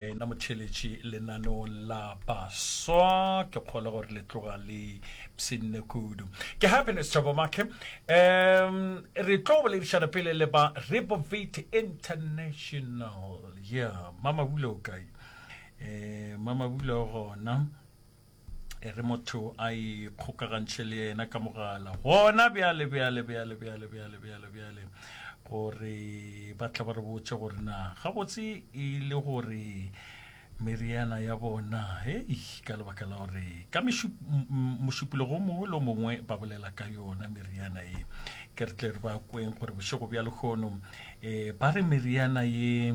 Wena motheeletši lenaneong la baswa, ke kgolwa gore le tloga le pshinne kudu. Ke Happiness Thabo Make. Um, re tlo boledišana pele le ba Rebovate International. Yeah, Mama Bula o kae? Eh, Mama Bula o gona. E re motho a ikgokagantšhe le yena ka mogala gona bjale bjale bjale bjale bjale bjale bjale gore ba tla ba re botše gore na gabotse e le gore meriana ya bona hei ka lebaka la gore ka mošupologo mongwe le mongwe ba bolela ka yona meriana ye ke re tle re ba kweng gore bošego bja lehono um ba re meriana ye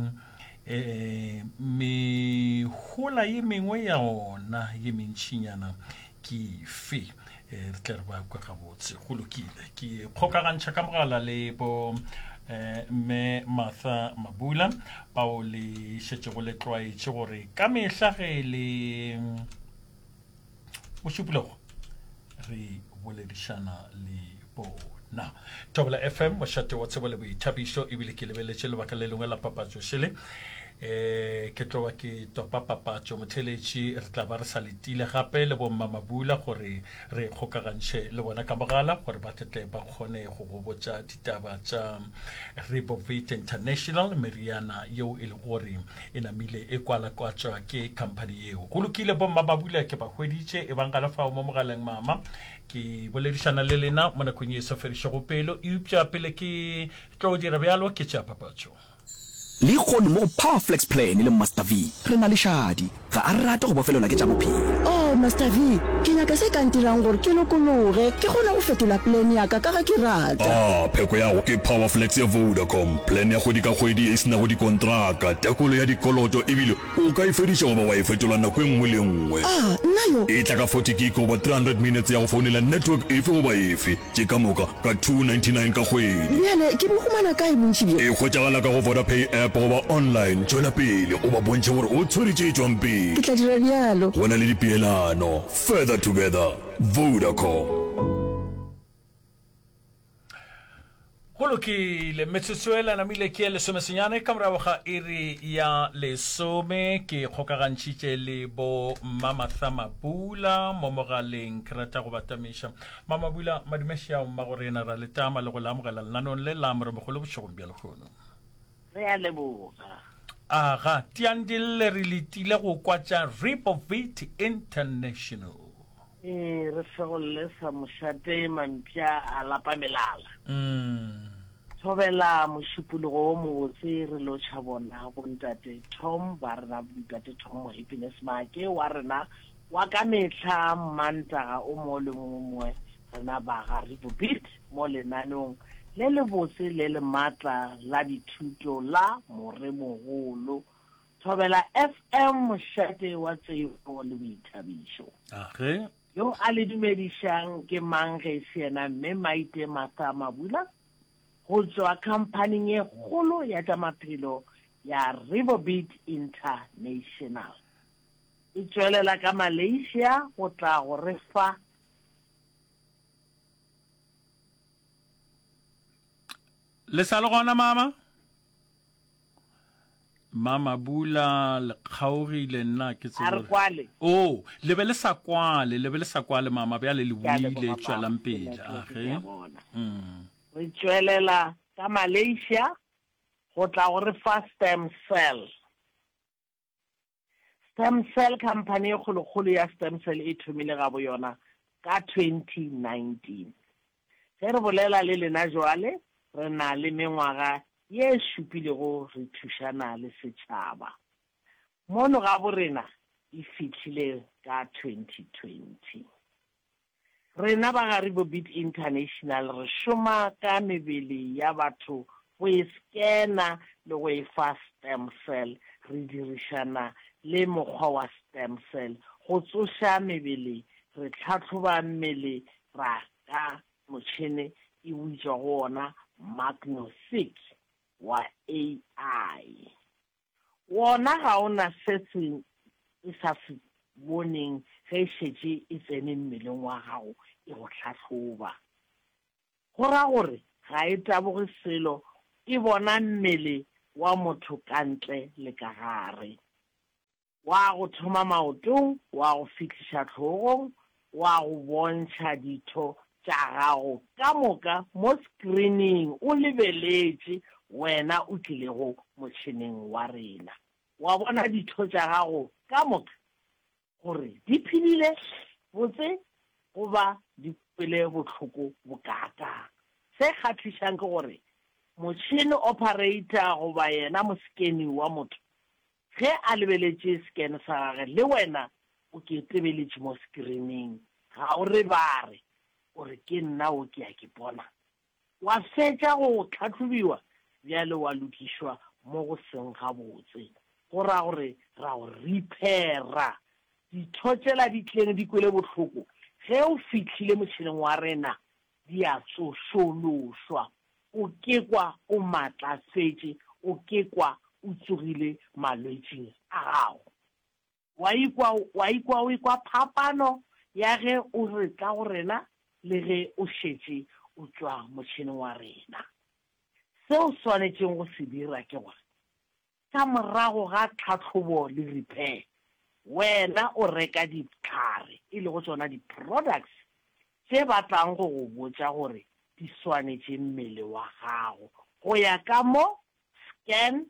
E, mehola ye mengwe ya ona ye mentšinyana ke efe? E, re tle re ba kwe gabotse. Go lokile. Ke kgokagantšha ka mogala le bo eh, mme Martha Mabula bao le šetšego le tlwaetše gore ka mehla ge le Mošupologo re boledišana le bona. Thobela FM, mošate wa tsebo le boithabišo, ebile ke lebeletše lebaka le lengwe la papatšo šele. Eh, ke tlo ba ke topa papatšo motheletši, re tla ba re sa letile gape le bomma Mabula gore re kgokagantšhe le bona ka mogala gore ba tle ba kgone go go botša ditaba tša Rebovit International, meriana yeo e le gore e namile e kwalakwatšwa ke khamphani yeo. Go lokile, bomma ba bula ke ba hweditše, e bang gana fao mo mogaleng mama. Ke boledišana le lena mo nakong ye e sa fedišego pelo, eupša pele ke tlo dira bjalo ke tšea papatšo. Lehono mo go Power Flex Plan le Master V re na le Shadi. Ga a rate go bofelelwa ke tša bophelo. Oh, Master V, ke nyaka se ka ntirang gore ke lokologe, ke kgone go fetola plan ya ka ka ge ke rata. Ah, pheko ya go ke Power Flex ya Vodacom, plan ya kgwedi ka kgwedi e se nago dikontraka, tekolo ya dikoloto ebile o ka e fediša goba wa e fetola nako e nngwe le e nngwe. Ah, nna yo! E tla ka 40 gig goba 300 minutes ya go founela network efe goba efe. Tše ka moka ka 299 ka kgwedi. Bjale ke bo humana kae bontši bjo? E hwetšagala ka go Vodapay app goba online. Tšwela pele o ba bontšhe gore o tshwere tše tšwang pele. Ke tla dira bjalo. Go na le dipeelano. Further together. Vodacom. Go lokile, metsotso e lanamile ke ye lesomesenyane ka morago ga iri ya lesome. Ke kgokagantšhitše le bo Mmamatha Mabula mo mogaleng. Ke rata go batamiša Mamabula, madumešiao mmago rena, ra le tama le go le amogela lenaneong le la Moremogolo bošegong bja lehono. Re a leboga. Aga, tiang di lle re letile go kwa tša Ripovit International. Ee, re fegolle sa mošate mampša a lapa melala. Mm. Thobela mošupologo wo mobotse re lotšha bona bontate Tom ba rena ntate Tom Happiness Maake wa rena Wa ka mehla Mmantaga o mongwe le o mongwe rena ba ga Ribobit mo lenaneong le lebotse le le matla la dithuto la Moremogolo. Thobela FM mošate wa tsebo le boithabišo. Age. Yo a le dumedišang ke mang ge e se yena Mme Maite Martha Mabula go tšwa khamphaning ye kgolo ya tša maphelo ya Ribobit International. E tšwelela ka Malaysia go tla go re fa. Le sa le gona mama? Mama Bula le kgaogile nna ke A re kwale. Oh, le be le sa kwale, le be le sa kwale mama bjale le buile tšwelang pele. Age. Mm. Re tšwelela ka Malaysia go tla go re fa stem cell. Stem cell Company e kgolokgolo ya stem cell e thomile gabo yona ka 2019. Ge re bolela le lena jwale, re na le mengwaga ye šupilego re thušana le setšhaba. Mono gabo rena e fihlile ka 2020. Rena ba ga Ribobit International re šoma ka mebele ya batho go e skena le go e fa stem cell. Re dirišana le mokgwa wa stem cell go tsoša mebele. Re hlahloba mmele ra ka motšhene e bitšwago wona Magnosig wa AI. Wona ga o na se se e sa se boneng ge e šetše e tsene mmeleng wa gago e go hlahloba. Go ra gore ga e taboge selo, e bona mmele wa motho ka ntle le ka gare. Wa go thoma maotong, wa go fihliša hlogong, wa go bontšha ditho tša gago ka moka mo skrining o lebeletše wena o tlilego motšheneng wa rena. Wa bona ditho tša gago ka moka gore di phedile botse goba di kwele bohloko bokaakang. Se kgahlišang ke gore motšhene operator goba yena moskeni wa motho Ge a lebeletše scan sa gage, le wena o ke tebeletše mo screening, ga o re ba re, o re ke nna wo ke a ke bona. Wa fetša go tlhahlobiwa bjale wa lokišwa mo go seng gabotse. Go ra gore ra go repaira. Ditho tšela di tleng di kwele bohloko ge o fihlile motšheneng wa rena di a tsošološwa. O ke kwa o matlafetše, o ke kwa o tsogile malwetšing a gago. Wa ikwa, wa ikwa o ekwa phapano ya ge o re tla go rena le ge o šetše o tšwa motšheneng wa rena. Se o swanetšeng go se dira ke gore Ka morago ga tlhahlobo le repair, wena o reka dihlare, e lego tšona di-products tše ba tlang go go botša gore di swanetše mmele wa gago go ya ka mo scan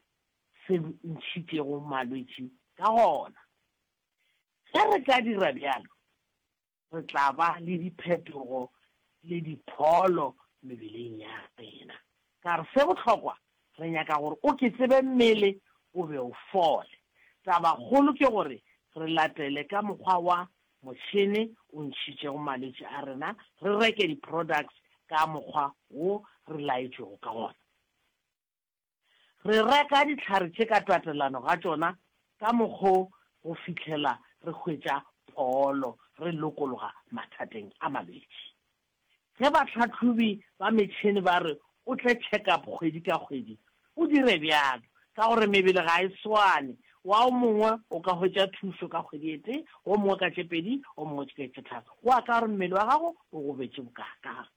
se ntšhitšego malwetši ka gona. Ge re ka dira bjalo, re tla ba le diphetogo le dipholo mebeleng ya rena. Ka re se bohlokwa, re nyaka gore o ke tsebe mmele o be o fole. Tabakgolo ke gore re latele ka mokgwa wa motšhene o ntšhitšego malwetši a rena, re reke di-products ka mokgwa wo re laetšwego ka gona. Re reka dihlare tše ka tatelano ga tšona ka mokgo go fihlela re hwetša pholo, re lokologa mathateng a malwetši. Ge bahlahlobi ba metšhene ba re o tle check-up kgwedi ka kgwedi, o dire bjalo, ka gore mebele ga e swane, wa o mongwe o ka hwetša thušo ka kgwedi e tee, wo mongwe ka tše pedi, o mongwe ka tše tharo, go ya ka gore mmele wa gago o gobetše bokaakang.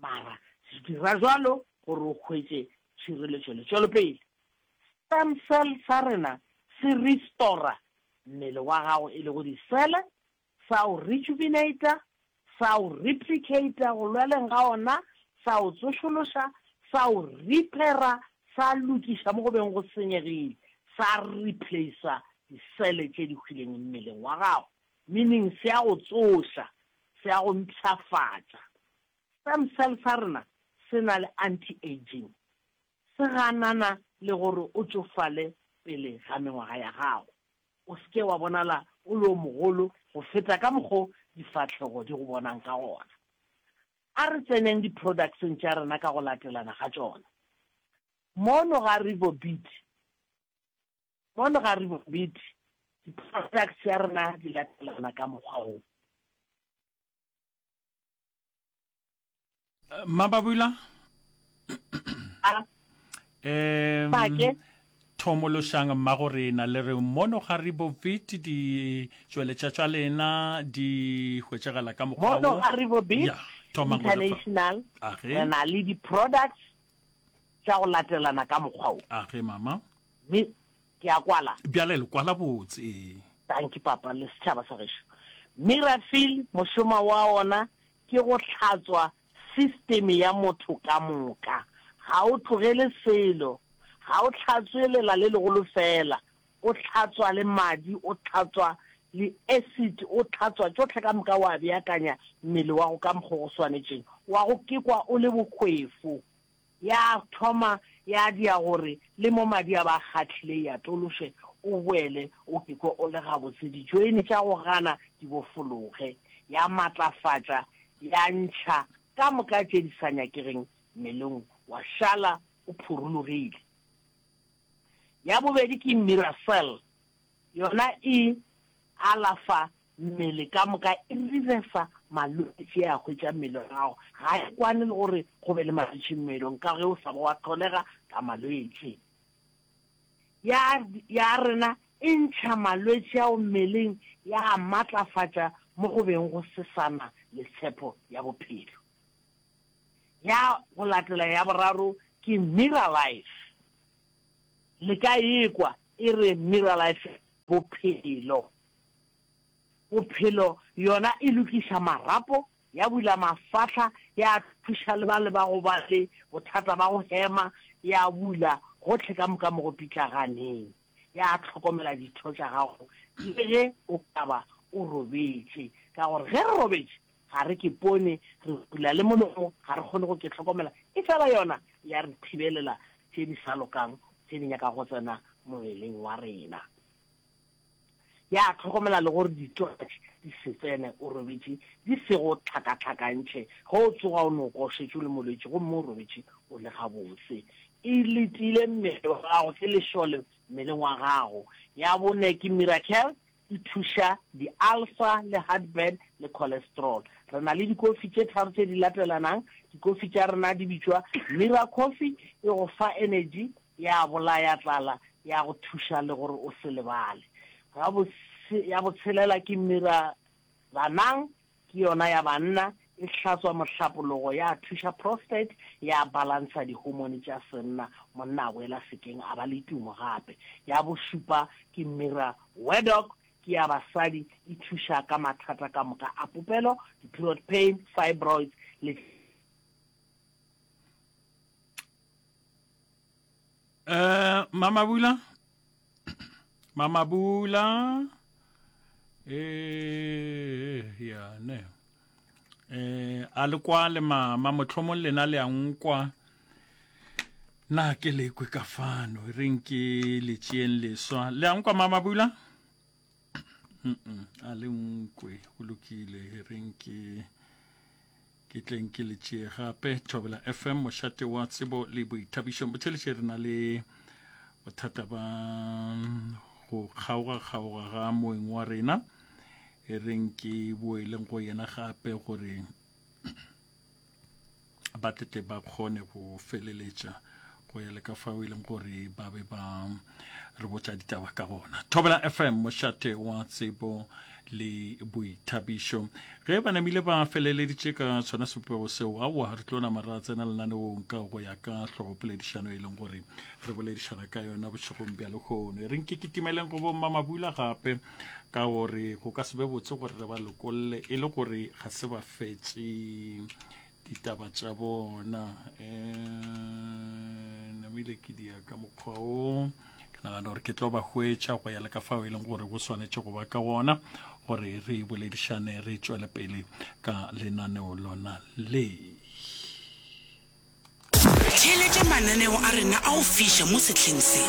Mara dira jwalo gore o hwetše tšhireletšo le tšwelopele. Stem cell sa rena se restora mmele wa gago e lego disele, sa o rejuvenata, sa o replicata go lweleng ga ona, sa o tsošološa, sa o repaira, sa lokiša mo go beng go senyegile, sa replacer disele tše di hwileng mmeleng wa gago. Meaning se a go tsoša, se a go mpshafatša. Stem cell sa rena se na le anti-aging. Se ganana le gore o tšofale pele ga mengwaga ya gago. O se ke wa bonala o le o mogolo go feta ka mokgo difahlego di go bonang ka gona. A re tseneng di-products-eng tša rena ka go latelana ga tšona. Mono ga Rivobit, Mono ga re bobedi, di-products tša rena di latelana ka mokgwa wo. Mmababula um Pake. thomološang mmago rena le re mono ga re bobit ditšweletša tša lena di hwetšagala ka mokgwa Mono wo ga re bobit Ya, thomang go lefa. International Age. re na le di-products tša go latelana ka mokgwa wo. Age mama. Mme ke a kwala. Bjale le kwala botse, ee. Dankie papa le setšhaba sa gešo. Mirafil mošomo wa ona ke go hlatswa system ya motho ka moka. Ga o tlogele selo. Ga o hlatswe lela le legolo fela. O hlatswa le madi, o hlatswa le acid, o hlatswa tšohle ka moka wa beakanya mmele wa go ka mokgo go swanetšeng. Wa go kekwa o le bohwefo. Ya thoma ya dia gore le mo madi a ba kgahlile ya tološe o boele o kekwe o le gabotse, dijoini tša go gana di bofologe, ya matlafatša ya ntšha ka moka tše di sa nyakegeng mmeleng wa šala o phurulogile. Ya bobedi ke Miracell, yona e alafa Mmele ka moka e reversa malwetši a hwetša mmele wa gago. Ga e kwane le gore go be le malwetši mmelong ka ge o sa ba wa hlolega ka malwetši. Ya, ya rena e ntšha malwetši ao mmeleng ya a matlafatša mo go beng go se sa na le tshepo ya bophelo. Ya go latela ya boraro ke Miralife. Le ka e kwa e re Miralife. Bophelo. Bophelo yona e lokiša marapo, ya bula mafahla, ya thuša le bale ba go ba le bothata ba go hema, ya bula gohle ka moka mo go pitlaganeng, ya hlokomela ditho tša gago le ge o ka ba o robetše. Ka gore ge re robetše ga re ke pone, re bula le molomo, ga re kgone go ke hlokomela, efela yona ya re thibelela tše di sa lokang tše di nyakago go tsena mmeleng wa rena. Ya hlokomela le gore ditwatši di se tsene o robetše, di se go hlakahlakantšhe. Ge o tsoga o no kwa o šetše o le molwetši gomme o robetše o le gabotse. E letile mmele wa gago, ke lešole mmeleng wa gago. Ya bone ke Miracle, e thuša di-ulcer le heartburn le cholesterol. Re na le dikofi tše tharo tše di latelanang. Dikofi tša rena di bitšwa Mira Coffee, e go fa energy, ya bolaya tlala, ya go thuša le gore o se lebale. Ya botshelela ke Mira Banang, ke yona ya banna, e hlatswa mohlapologo, ya thuša prostate, ya balansa dihomone tša senna, monna a boela sekeng a ba le tumo gape. Ya bošupa ke Mira Wedok, ke ya basadi, e thuša ka mathata ka moka a popelo, di-period pain, fibroids le. Eh, Mamabula? Mamabula? Eh, ya ne. Eh, a le kwa le mama mohlomong lena le a nkwa. Na ke le kwe ka fano, e reng ke le tšeeng leswa. Le a nkwa Mamabula? Mm a le nkwe, go lokile, e reng ke Ke tleng ke le tšee gape. Thobela FM, mošate wa tsebo le boithabišo. Botheletše re na le bothata ba go kgaoga-kgaoga ga moeng wa rena. E reng ke boeleng go yena gape gore ba tle ba kgone go feleletša go ya le ka fao e leng gore ba be ba re botša ditaba ka gona. Thobela FM, mošate wa tsebo le boithabišo. Ge ba namile ba feleleditše ka sona sebopego seo, aowa, re tlo nama ra tsena lenaneong ka go ya ka hlogopoledišano e leng gore re boledišana ka yona bošegong bja lehono. E reng ke kitimeleng go bommamabula gape ka gore go ka se be botse gore re ba lokolle e le gore ga se ba fetše ditaba tša bona. Um namile ke dia ka mokgwa o ke nagana gore ke tlo ba hwetša go ya le ka fao e leng gore go swanetše go ba ka gona gore re boledišane re tšwele pele ka lenaneo lona le. Theeletša mananeo a rena a go fiša mo sehleng se.